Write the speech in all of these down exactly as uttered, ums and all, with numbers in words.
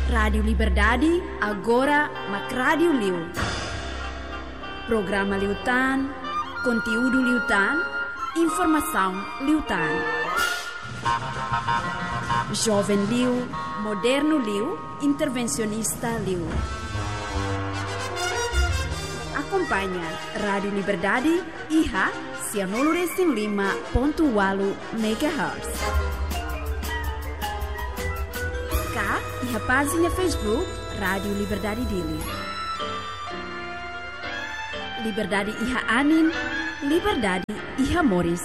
Rádiu Liberdade, agora mak rádiu liu. Programa liután, konteúdu liután, informasaun liután. Joven liu, modernu liu, intervensionista liu. Akompaña Rádiu Liberdade iha sianulu resin lima pontu ualu megahertz. Ka iha pájina Facebook Rádiu Liberdade Dili. Liberdade iha anin, liberdade iha moris.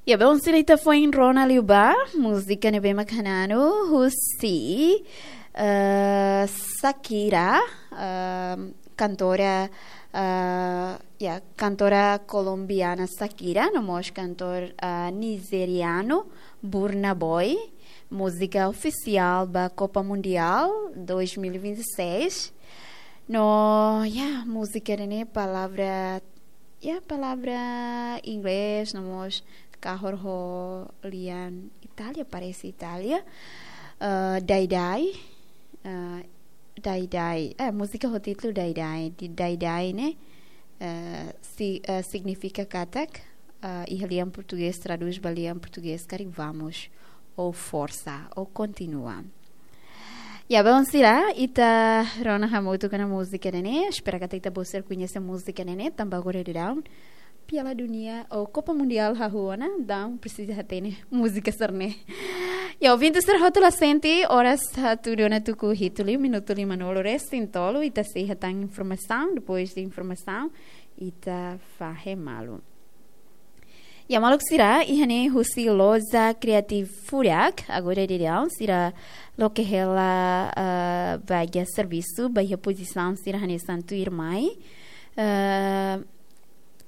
Ya, bom, sira, ita foin rona liu ba múzika ne'ebé mak hananu husi, eh, Shakira, eh, kantora, eh, ya, kantora kolombiana Shakira, no mós kantor, eh, nijerianu Burna Boy, múzika ofisiál ba Copa Mundial dois mil e vinte e seis. No, ya, múzika ne'e palavra, ya, palavra inglés, no mós kahur ho lian Itália, parese Itália. Eh, Die Die, eh, Die Die, eh, múzika ho títulu Die Die, di Die Die ne'e, eh, si-, eh, signifika katak, eh, iha lian portugés, tradús ba lian portugés karik vamos, ou forsa, ou kontinua. Ya, bom, sira, ita rona hamutuk ona múzika ne'e, espera katak ita-boot sira koñese múzika ne'e, tanba agora daudaun Piala Dunia ou Copa Mundial hahú ona, daudaun presiza hatene múzika sira-ne'e. Ya, ouvinte sira hotu, la sente, oras hatudu ona tuku hitu liu, minutu limanulu resin tolu, ita sei hetan informasaun, depois de informasaun, ita fahe malu. Ya, maluk sira, iha ne'e husi Loja Creative Furak, agora daudaun, sira loke hela, ah, vaga servisu, ba iha pozisaun sira hanesan tuirmai. Ah,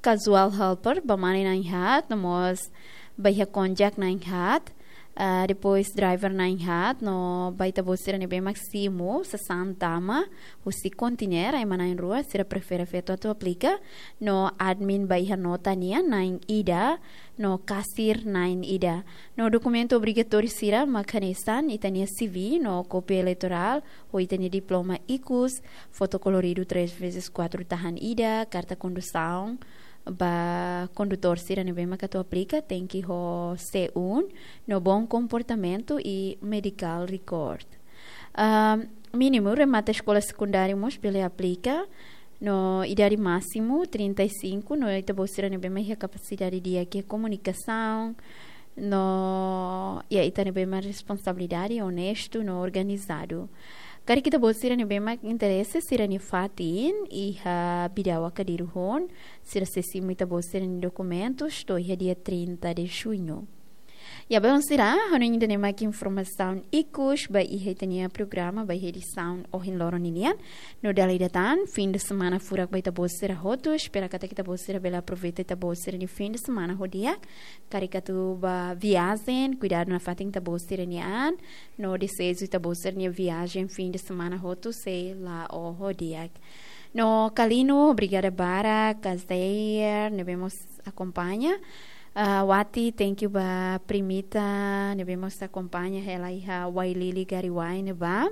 casual helper, ba mane na'in haat, no mós ba iha konjak na'in haat, ah, depois driver na'in haat, no ba ita-boot sira ne'ebé mak simu sasán tama husi konteiner, ema na'in rua, sira prefere feto atu aplika, no admin ba iha nota nian na'in ida, no kasir na'in ida. No dokumentu obrigatóriu sira mak hanesan ita-nia C V, no kópia eleitorál, ho ita-nia diploma ikus, foto koloridu três vezes quatro tahan ida, karta kondusaun, ba kondutór sira ne'ebé mak atu aplika, tenke ho C um, no bom comportamento e medical record. Ah, mínimu remata eskola sekundáriu mós bele aplika, no idade másimu trinta e cinco, no ita-boot sira ne'ebé mak iha kapasidade di'ak iha komunikasaun, no, ya, ita ne'ebé mak responsabilidade, onestu, no organizadu. Karik ita-boot sira ne'ebé mak interese, sira-nia fatin iha Bidau Akadiru hoon, sira sei simu ita-boot sira-nia dokumentus to'o iha dia trinta de junho. Ya, bom, sira, ha'u hanoin ida-ne'e mak informasaun ikus ba iha ita-nia programa, ba iha edisaun ohin loron ninian. No dala ida tan, fim de semana furak ba ita-boot sira hotu, espera katak ita-boot sira bele aproveita ita-boot sira-nia fim de semana ho di'ak. Karik atu ba viajen, kuidadu nafatin ita-boot sira-nia an, no deseju ita-boot sira-nia viajen fim de semana hotu sei la'o ho di'ak. No Kalino, obrigada barak, Kazeir, ne'ebé mós akompaña. Ah, Wati, thank you ba Primita, ne'ebé mós akompaña hela iha Wailili Gariwai ne'ebá.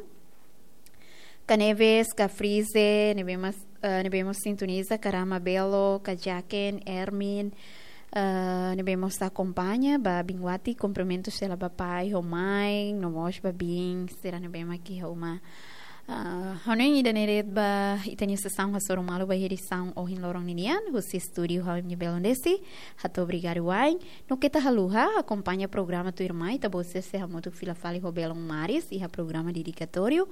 Ka Neves, ka Frize, ne'ebé mós, eh, ne'ebé mós sintoniza, Karama Belo, ka Jaken, Ermin, eh, ne'ebé mós akompaña, ba biin Wati, kumprimentus hela ba pai, ho mãe, no mós ba biin sira ne'ebé mak iha uma. Ah, ha'u hanoin ida-ne'e de'it ba ita-nia sesaun hasoru malu ba iha edisaun ohin loron ninian, husi estúdiu ha'u-nia belun Desi, hato'o obrigadu wa'in, no keta haluha, akompaña programa tuirmai, ita-boot sira sei hamutuk fila fali ho belun Maris, iha programa dedikatóriu,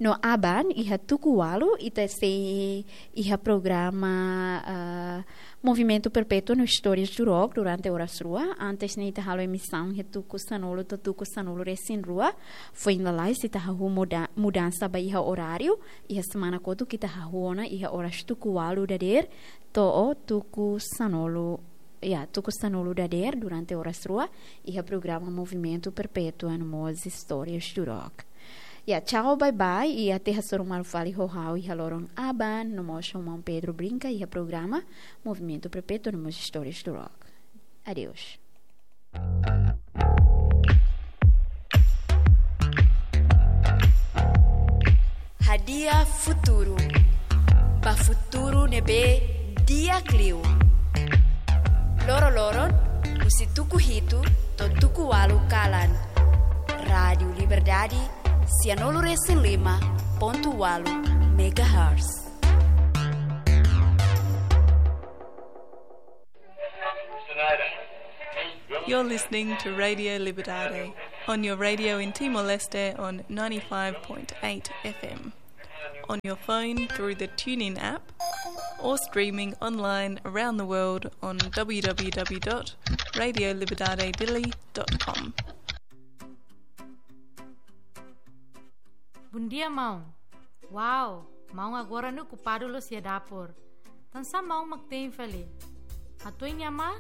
no aban, iha tuku ualu, ita sei iha programa, ah, Movimentu Perpétua no Histórias do Rock durante oras rua. Antes ne'e ita halo emisaun iha tuku sanulu to'o tuku sanulu resin rua. Foin lalais ita hahú muda-, mudansa ba iha oráriu. Iha semana kotuk ita hahú ona iha oras tuku ualu dadeer to'o tuku sanulu, ya, tuku sanulu dadeer durante oras rua. Iha programa Movimentu Perpétua no mós Histórias do Rock. Ya, tchau, bye bye, i até hasoru malu fali ho ha'u iha loron aban, no mós ho maun Pedro Brinca, iha programa Movimentu Perpétua no mós Histórias do Rock. Adeus. Hadi'a futuru. Ba futuru ne'ebé di'ak liu. Loroloron, husi tuku hitu to'o tuku ualu kalan. Rádiu Liberdade, sianulu resin lima pontu ualu megahertz. You're listening to Radio Liberdade on your radio in Timor-Leste on ninety-five point eight F M, on your phone through the TuneIn app, or streaming online around the world on w w w dot radio liberdade dili dot com. Bom dia, maun. Wow, maun agora ne'e okupadu loos iha dapur. Tansá maun mak te'in fali? Hatuan nia amá,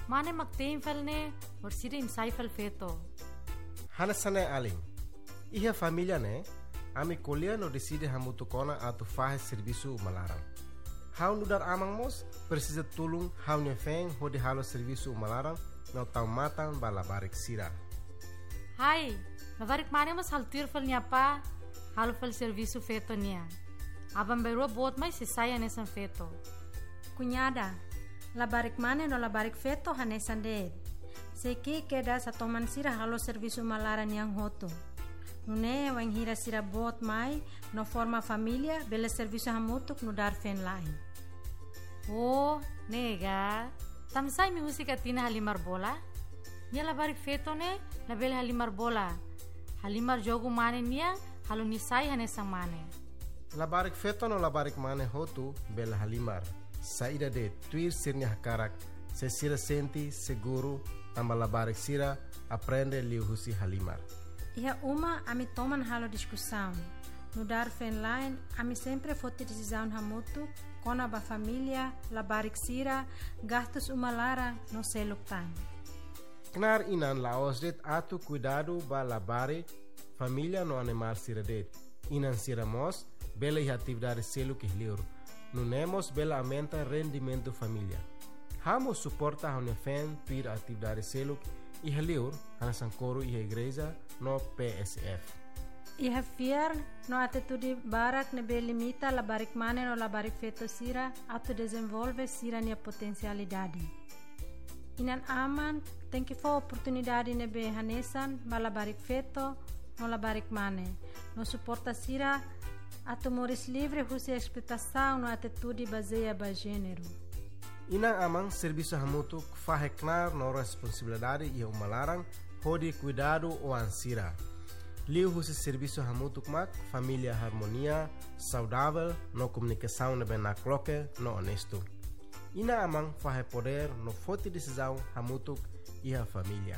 mane mak te'in fali ne'e, orsida imi sai fali feto. Hanesan ne'e alin. Iha família ne'e, ami ko'alia no deside hamutuk ona atu fahe servisu uma laran. Ha'u nu'udar aman mós presiza tulun ha'u-nia feen hodi halo servisu uma laran no tau matan ba labarik sira. Hai, labarik mane mós halo tuir fali nia apá, halo fali servisu feto nian. Aban-bainrua boot mai sei sai hanesan feto. Kuñada, labarik mane no labarik feto hanesan de'it. Sei ki'ik kedas atu toman sira halo servisu uma laran nian hotu. Nune'e wainhira sira boot mai no forma família, bele servisu hamutuk nu'udar feen-la'en. Oh, ne'e ka. Tansá imi husik Atina halimar bola? Nia labarik feto ne'e labele halimar bola. Halimar jogu mane nian, halo nia sai hanesan mane. Labarik feto no labarik mane hotu bele halimar. Saida de'it, tuir sira-nia hakarak, se sira sente seguru, tanba labarik sira aprende liuhusi halimar. Iha uma ami toman halo diskusaun. Nu'udar feen-la'en, ami sempre foti desizaun hamutuk kona-ba família, labarik sira, gastus uma laran no seluk tan. Knaar inan la'ós de'it atu kuidadu ba labarik, família no animál sira de'it. Inan sira mós bele iha atividade seluk iha li'ur. Nune'e mós bele aumenta rendimentu família. Ha'u mós suporta ha'u-nia feen tuir atividade seluk iha li'ur, hanesan koru iha igreja no P S F. Iha fiar no atitude barak ne'ebé limita labarik mane no labarik feto sira atu dezenvolve sira-nia potensialidade. Inan-aman tenke fó oportunidade ne'ebé hanesan ba labarik feto no labarik mane, no suporta sira atu moris livre husi esploitasaun no atitude bazeia ba jéneru. Inan-aman servisu hamutuk fahe knaar no responsabilidade iha uma laran hodi kuidadu oan sira. Liuhusi servisu hamutuk mak família harmonia, saudavel no komunikasaun ne'ebé nakloke no onestu. Inan-aman fahe podér no foti desizaun hamutuk iha família.